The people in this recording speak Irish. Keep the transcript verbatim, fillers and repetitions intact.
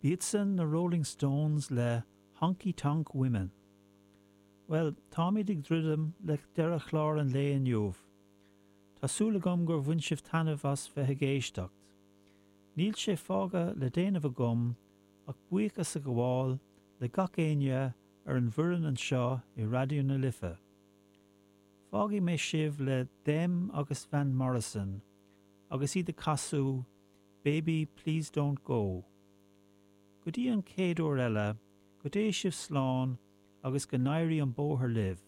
B'iadsan na Rolling Stones le Honky Tonk Women. Well, táimid ag druidim le deireadh chlár an lae inniu. Tá súil agam gur bhain sibh taitneamh as bheith ag éisteacht. Níl sé fágtha le déanamh agam ach buíochas a ghabháil le gach éinne ar an bhfoireann anseo i Raidió na Life. Fágfaidh mé sibh le Them agus Van Morrison agus iad ag casadh Baby Please Don't Go. Go dtí an chéad uair eile, go dté sibh slán agus go n-éirí an bóthar libh.